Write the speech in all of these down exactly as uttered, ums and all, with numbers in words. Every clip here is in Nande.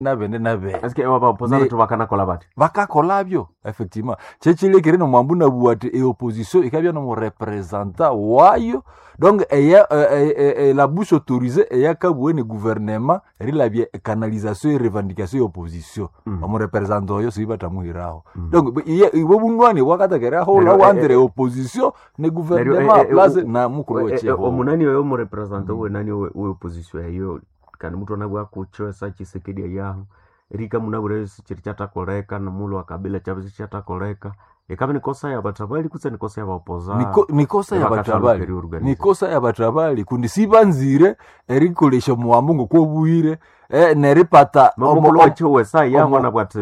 nabende nabende Eske abaopoza Ni- bethu bakanakola bati bakakolabyo effectivement kyekilekere nomwambu nabua ati eopposition ikabya nomurepresenta wayo donc eya e, e, e, la bouche autorisée eyakabue ne gouvernement erilabya ecanalisation erevendication ya opposition Mm. omurepresenta oyo sibatamuhiraho Mm. donc iye- ibo bunwani bwakatakeraho Neryo, ulawo eh, entre eh, opposition ne Neryo, gouvernement eh, eh, place u- na mukulu Eh, eh, wechiho omunani oyo omurepresenta owenani owe opposition eyo kandi mutu anabwa kucho esa Tshisekedi eyaho erika munabwire chiri kyatakoleka nomulhu wa Kabila kyabya sikyatakoleka ikabi nikosa ya batabali kutse nikosa ya baopoza Niko- nikosa ya batabali nikosa ya batabali kundi sibanzire erikolesha omuwambu ngokwobuhire eh, neripata omo- mukulu om- wacho wesa yaho omo- anabwati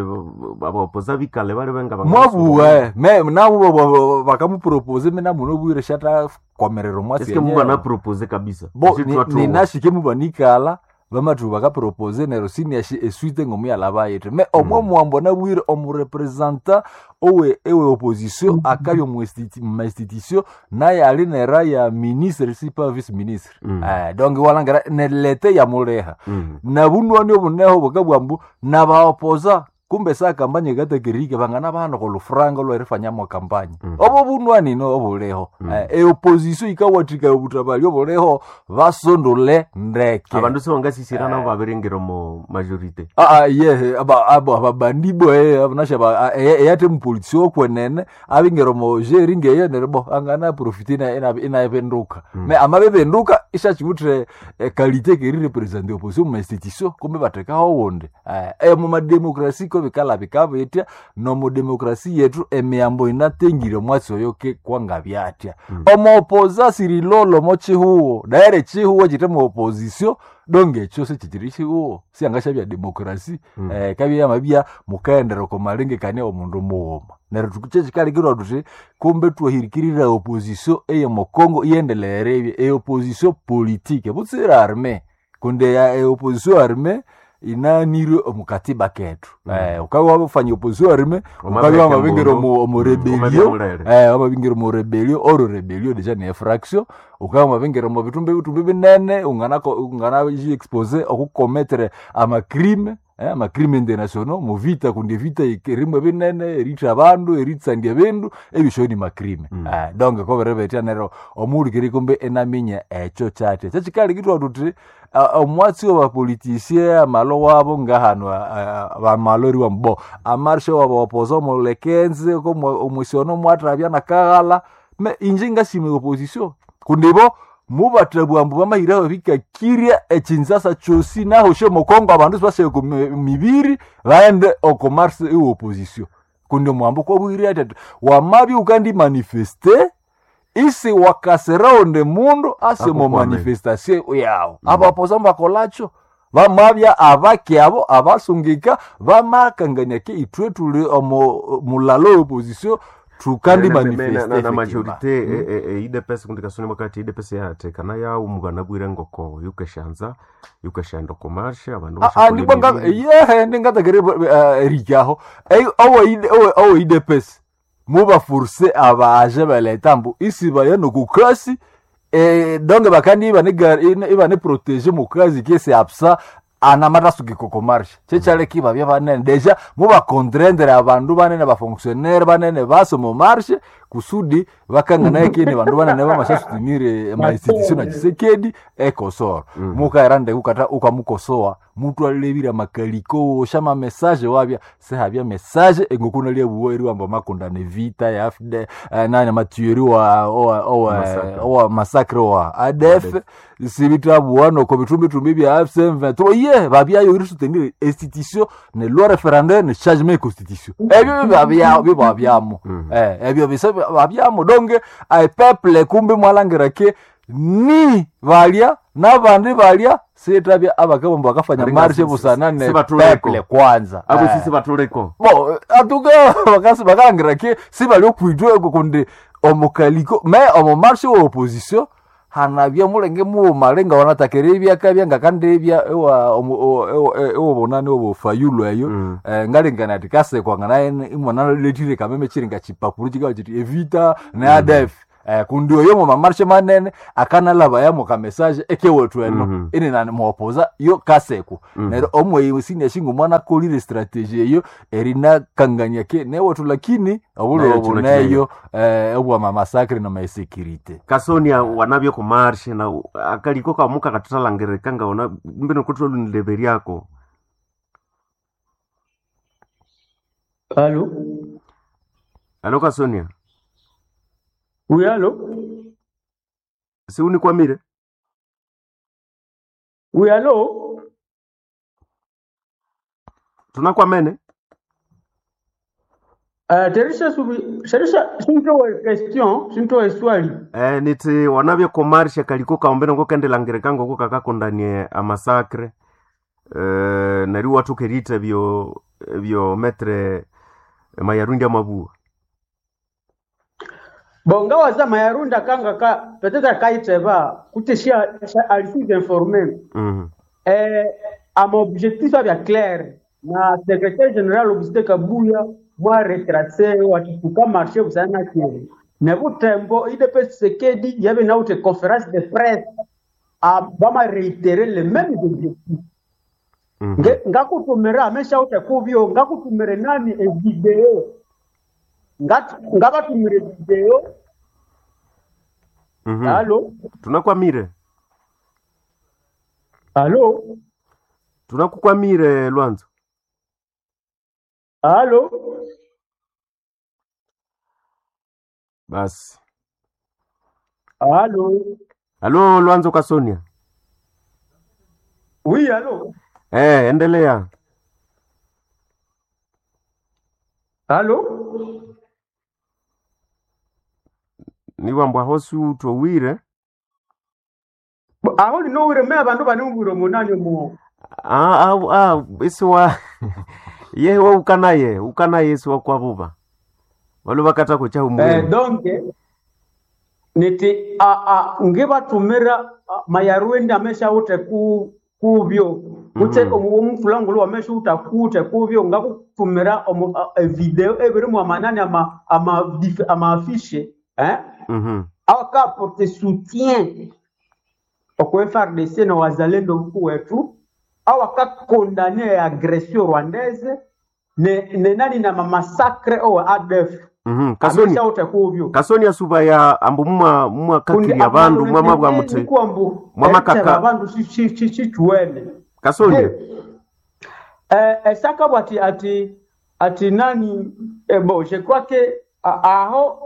abaopoza bikale bali benga mwabuwe me nabo bakamupropose mina muno bwire shata kwamerera omwasi eske muba napropose kabisa bo Esi ni- twathuwa. ninashike mubanikala bamathu bakapropose neryo siniashi esuite ngomuyalaba yethu me omwe Mm. muwambo nabwire omurepresenta owe ewe opposition akabya omu institu- mu institution naye ali nera ya ministre si pa vice ministre Mm. eh, donc walangira nelete yamuleha Mm. nabunwani obuneho bukabwambu nabaopoza kumbe sa kampanye katakirike bangana bana kolufranga lwerifanyamo kampanye Mm. obo bunwani no obuleho Mm. eh, eopposition ikawathika obutabali obuleho basondole ndeke abandu sibangasisira nabo babiringira omu majorité Ah, ah, ye aba abo ababandibo eh abunasha ba eyate mupolitisi okwenene abingero mo jeri ngeye nerbo angana profite ina ina inabenduka Mm. me amabebenduka ishachiutre eh, qualité ke represent opposition mu institution kumbe batekaho wonde eh, eh mu mademokrasi ko bikala bikabetya no mu demokrasi yetu emiyambo inatengire mwatsi oyo ke kwanga byatya Mm. omuopoza sirilolo mo chihuo daire chihuo chite mu opposition donge ekyo sichichiri chihuo siangasha bya demokrasi Mm. eh, kabya mabya mukaendera komalengekania omundu mughuma neryo tukukyekikalikirwa tuthi kumbe twahirikirira opposition eye mukongo iyendelere ebye eopposition politique butsira arme kundi eya- eopposition arme inanirwe omukatiba kethu Mm. eh, ukabya wabafanya opposition arme ukabya wamabingira omu omu rebellion eh wamabingira omu rebellion oro rebellion deja ni infraction ukabya wamabingira omu bitumbi bitumbi binene ungana ungana expose okukometere amacrime eh, amacrime international muvita kundi vita irimwe binene eritha abandu eritsandya bindu ebisho ni macrime Mm. eh, donc koberebetya neryo omuhulikiri kumbe enaminya ekyo kyatya kyekikalikitwa tuthi ah, omwatsi wabapolitisie amalo wabo ngahano bamalo eriwa mbo amarshe wabawapoza omulekenze omwisiono mwathabya nakaghala me inje ngasima opposition kundibo mubathabwa ambu bamahiraho bikakirya ekinzasa kyosi naho shomokongo abandu sibashaye ku mi- mibiri baende oko marse iwe opposition kundi omwambo kwabwire ati ati wamabya ukandi manifeste isi wakaserawo nde mundu ase mu Akukwame. manifestation yawo Mm. abapoza mbakolacho bamabya abaki abo abasungika bamakangania ke ithwe tuli omo mulalo we opposition tukandi manifeste na effectivement. majorité eidepesi kundi kasoni wakati idepesi yathekana yawu mukanabwire ngoko yukeshanza yukeshaenda komarshe abandu Ah, ah, bashakola ndibwa nga- emibiri. yehe ndingatakere erikaho oweidepesi mubaforce abaje baleta mbu isi baya nokukasi eh, donc bakandi ibane protege mukazi kese absa anamatasuki kokomarshe chekyaleka ibabya banene deja mubakontrendere abandu banene bafonctionnaire banene base mumarshe kusudi bakanganaye kene bandu banene bamashasutinire mainstitution na Tshisekedi ekosoro Mm. mukaira ndeke ukata ukamukosoa mutu alebira makaliko wosha mamesaje wabya sehabya mesaje engokuna lyabuwa eriwamba makondane vita ya A F D eh, nani matueri wa owa owa Massacre. owa masakre wa A D F sibitabuwa noko bitumbitumbi bya A F C M vingt-trois ye babyayo irisoutenir institution ne loi référendaire ne changement ya constitution ebyo bibabya bibabyamo Mm. eh ebyo bisa babyamo donc ai peuple kumbe mwalangira ke ni balya nabandi balya sitabya abakabomba bakafanya Alinga marshe si- busana si- ne sibatuleko. peuple kwanza abo Eh. sisi batuleko Bon, en tout cas bakasi bakalangira ke sibali okwitwa eko kundi omukaliko me omu marshe wa opposition hanabya mulenge mughuma lenga wanatakere ebyakabya ngakandebya ewa omu- o- ewa- ewobonani obofayulu eyo Mm. eh, ngalengana ati kasekwa ngana imwana letire kameme chiri nga chipapuro chikawa chiti evita ne A D F Eh, kundi oyo mu mamarche manene akanalaba yamo ka message ekewethu eno Mhm. ini nani muopoza yo kaseko Mhm. neryo omweyi siniashinga omwana akolire strategy eyo erinakangania ke newethu lakini obulwa Nayo obu kino neyo eh, obwa mamasakre na mainsécurité Kasonia wanavyo kumarshe na akaliko kamuka katuthalangirika ngaona mbino kutholunileveryako. Allô? Alo Kasonia, Oui, allô? siunikwamire? Oui, allô? Tunakwamene? Uh, Teresa subi, Teresa sintowe question, sintowe swali. Eh, niti wanavyo kumarshe kaliko kaombeno ngokendelangirika ngoko kakakondanie amasakre eh, neri wathukerite byo byo metre Mayarundi amabua. Bon, ngawaza Mayarunda kanga ka peut-être kaiteba kuteshia alisi informé. Mhm. Eh, ama objectif abya clair na secrétaire général Augustin Kabuya mwa retracé watituka marché busana kiri. Ne butembo I D P Tshisekedi yabe na ute conférence de presse a bama réitérer les mêmes objectifs. Mhm. Nge- ngakutumira amesha ute kuvyo ngakutumire nani evideo Ngat- ngabatumire video. Mhm. Alo? Tunakwamire. Alo? Tunakukwamire Lwanzo. Alo? Basi. Alo? Alo Lwanzo Kasonia. Oui, alo? Eh, endelea. Alo? Niwambwa hosi utowire. Bo, aho linowire me abandu baniwire omunani omu Ah, ah, ah, isiwa yewe ukanaye ukanaye isiwa kwavuva valo vakata kucha eh, umwenu. Donc niti a, a, ngibatumira a, Mayarwende amesha ute ku kubyo kutse Mhm. mm -hmm. Omufulangulu wamesha uta kute kubyo ngakutumira omu, a, e video ebirimu amanani ama ama dif- ama affiche eh Mhm. awakaporte soutien okwe F A R D C na wazalendo mkuu wetu awakakondane agression rwandaise ne, ne nani na mamasakre owa A D F. Mhm. Kasoni Amesha ute kubyo Kasoni asuba ya ambu mwa mwa kundi kakiri abandu mwa mabwa muti nikuambu mwa eriteba makaka abandu sichiwene. Kasoni. Esakabwa ati ati ati nani eh, bon je crois que a- aho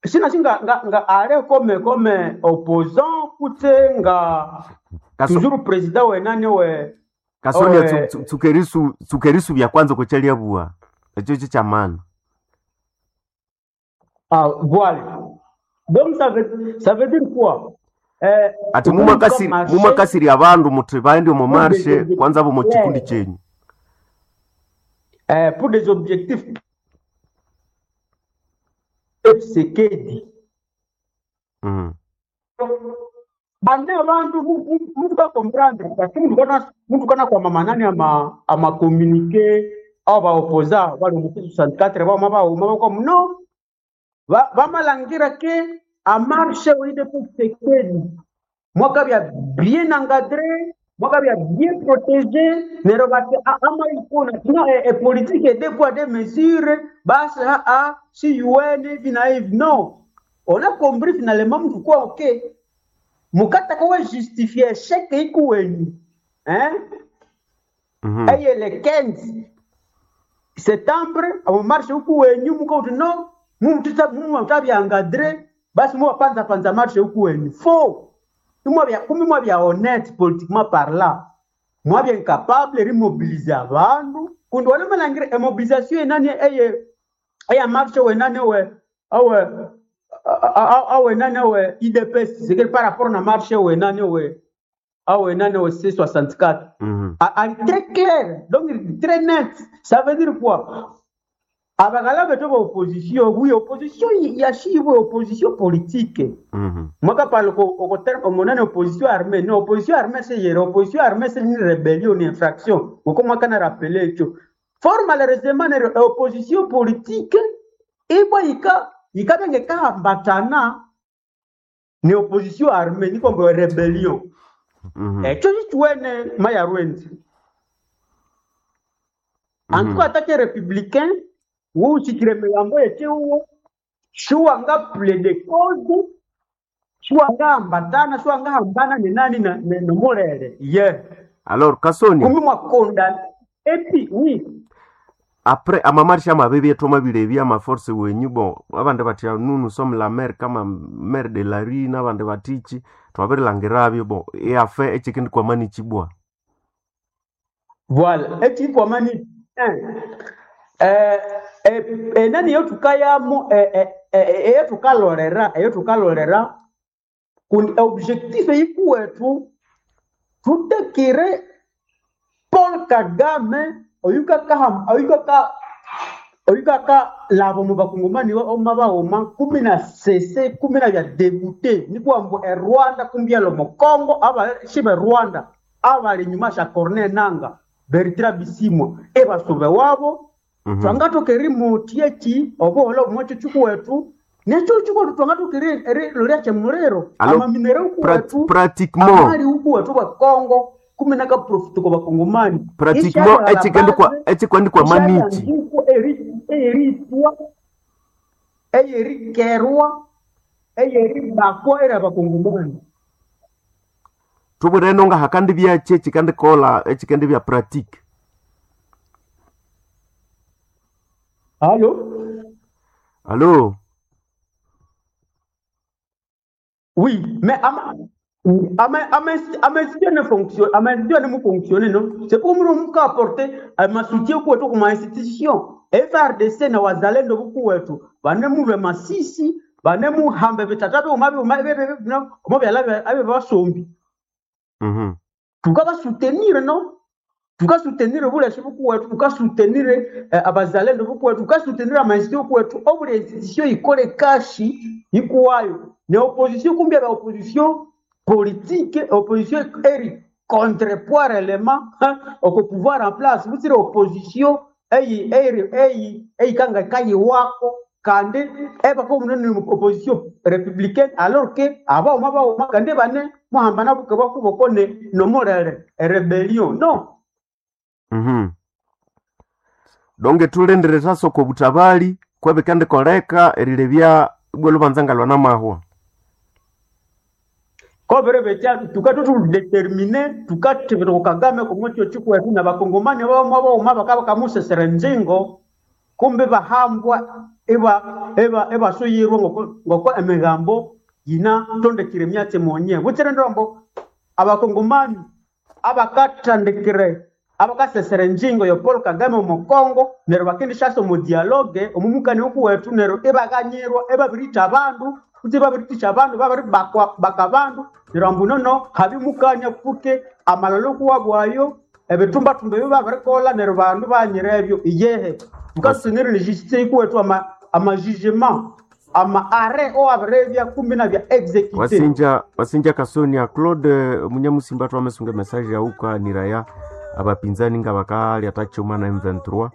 sina singa nga, nga ale comme comme opposant kute nga Kaso, toujours président we nani we Kasonia owe tsu- tsukerisu tsukerisu bya kwanza kuchalia bua echo cho chamana. Ah, voilà, donc ça veut ça veut dire quoi, eh, Ati ukuri muma kwa kasiri muma marché kasiri abandu muti baende omu pour des marshe objectifs kwanza bo mu chikundi clairs, chenyu. eh, pour des objectifs Tshisekedi. Mhm. Bane abantu mutu ka comprendre parce que mutu kana mutu kana kwa mamanani ama ama communiqué au ba opposa bali mu soixante-quatre ba ma ba ma ba no ba bamalangira ke a marche oide pour Tshisekedi mwaka bya bien encadré, mwaka bya bien protégé nero bati a- ama ikona no e, e politique e deux poids deux mesures basi a a si U N hivi na hivi. Non, on a compris finalement mtu kwa okay mukata kowe justifier échec ikuwenyu hein Mhm. eye le quinze septembre abo marche huku wenyu mukauti no mumutita mumutabyanga basi muwapanza panza marche huku wenyu faux. Imwabya kumi mwabya honnête politiquement parlant, mwabya incapable rimobilize abandu kundi wanamalangire emobilisation enani eye eya marche wenani we awe awe nani awe U D P S c'est par rapport na marche wenani we awe nani we C soixante-quatre. Mhm. A- ali très clair, donc très net. Ça veut dire quoi? Abagala beto ba opposition, oui, opposition yashibwe opposition politique. Mhm. Mwaka pale ko ko terme omonane opposition armée, non, opposition armée c'est hier, opposition armée c'est une rébellion, une infraction. Uko mwaka na rappeler cho fort malheureusement ne opposition politique ibwa ika ikabenge kahambatana. Ni opposition armée nikwamba rébellion. Mhm. Ekyo kikiwene maya rwendi. En tout cas, attaque républicain, wuuchikire emigambo yekihugo, siwanga plaider cause, siwanga ambatana, siwanga hambana ni nani na na- nomulele. Ye. Alors Kasonia, Kumi mwakonda epi oui. après amamarche amabibi etwamabire amaforce wenyu bon abandi bati nous nous sommes la mer kama mer de la rue n'abandi batichi twabirilangirabyo bon eafe ekikindi kwamani chibwa. Voilà. Ekikwamani eh eh eh, eh, nani yo tukayamo eh eh eh eyo tukalolera eyo tukalolera kundi objectif yikuwetu tutekire Paul Kagame oyukaka oyukaka oyukaka labo mu bakongomani oma baoma kumi na sese kumi na bya debute nikwambu e Rwanda kumbyalo mu Congo aba shibe Rwanda abali nyuma sha Corneille Nanga Bertrand Bisimwa ebasube wabo. Mhm. Twangatoka remote yeki obuholo omwekyo kikuwetu nekyo kikuwetu twangatoka lolya kyemuliro Alors, amaminere prat ukuwetu pratiquement amali ukuwetu bwa Congo kumi nakaprofiti kwa bakongomani pratiquement ekikendi kwa ekikendi kwa manichi ishalyanzuko eyeritwa eyerikerwa eyeribakwa era bakongomani. tubwireno nga hakandi byache ekikendi kola ekikendi bya pratique. Halo. Allo. Oui, mais ama ama ama ama institution ne fonctionne, ama institution ne fonctionne non. C'est pour nous nous apporter ama soutien kwa tu kuma institution. F R D C na wazalendo buku wetu. Bane mulwe masisi, bane muhambe bitata be umabe umabe be no, umabe alabe abe basombi. Mhm. Tukaba soutenir non? Tuka soutenir bule buku wetu, tuka soutenir eh, abazalendo buku wetu, tuka soutenir ama institution kwetu. Obule institution ikole kashi ikuwayo. Ne opposition kumbia ba opposition politique, opposition eri contrepoids réellement hein, au pouvoir en place. Vous dire opposition eyi eyi eyi eyi kanga kayi wako kande eba ko munene opposition républicaine alors que aba oma ba oma kande bane muhambana buke bakuboko ne nomorere rébellion non. Mhm. Donge tulendere sasoko butabali kwebikandi koleka erilebya ibwe lubanza ngalwa namahwa. Kobere betya tuka tutu déterminé tuka tibiro Kagame kumwekyo chikwetu na bakongomani bamwe bauma bakaba kamusesera nzingo kumbe bahambwa eba eba ebasuyirwa ngoko ngoko emigambo yina tondekire myatse monye butsire ndombo abakongomani abakatandikire abakasesera enjingo yo Paul Kagame omu Congo neryo bakendishasa omu dialogue omumukani okuwetu neryo ibakanyirwa ebabirita abandu kuti babiritisha abandu babiribakwa baka abandu neryo ambu nono habimukania kuke amalolo kuwabwayo ebitumbatumba ebyo babirikola neryo bandu banyira ebyo iyehe tukasunire ne justice ikuwetu ama ama jugement ama arrêt owabirebya kumbi na bya exécuté. Wasinja wasinja Kasonia Claude Munyamusimba twamesunga message yauka niraya abapinzani nga bakali atachoma na M vingt-trois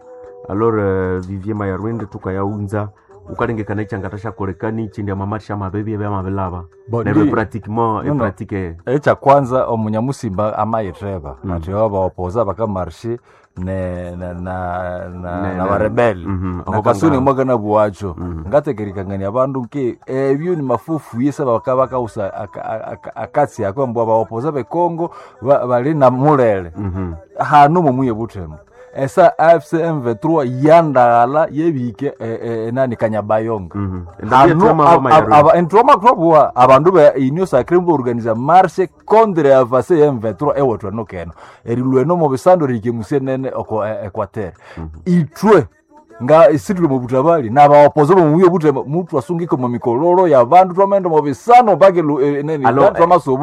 alors euh, Vivier Mayarwende tukayaunza ukalengekana ichangatashakolekani ichindi amamarsha amabebi ebyamabilaba Bo, neryo ndi- pratiquement No, no. epratique. Ekya kwanza omunyamusimba amayitheba Mm. ati obaopoza bakamarshi ne na na na, Ne- na ne- barebeli Mhm, na kasuni aho mwaka na buwacho Mhm. ngatekerikangania abandu nke ebyo ni mafufu yesa baka bakausa aka- aka- akatsi ako mbwa baopoza bekongo ba- bali na mulele Mhm. hano mumuye buthembo esa A F C M vingt-trois yandaghala yebike eh, eh, nani Kanyabayonga. Mhm. Hano entomakutwabua abandu ba union sacrée mbo organisa marche contre avance ya M vingt-trois ewethu eno keno erilweno mu bisando rikemusie nene oko e- Equateur itwe nga isitule mu butabali nabaopoza bomuye buthembo mutu asungike mu mikololo ya bandu twamaenda mu bisano mpaka elu- eh, nini Alo, twamasubu.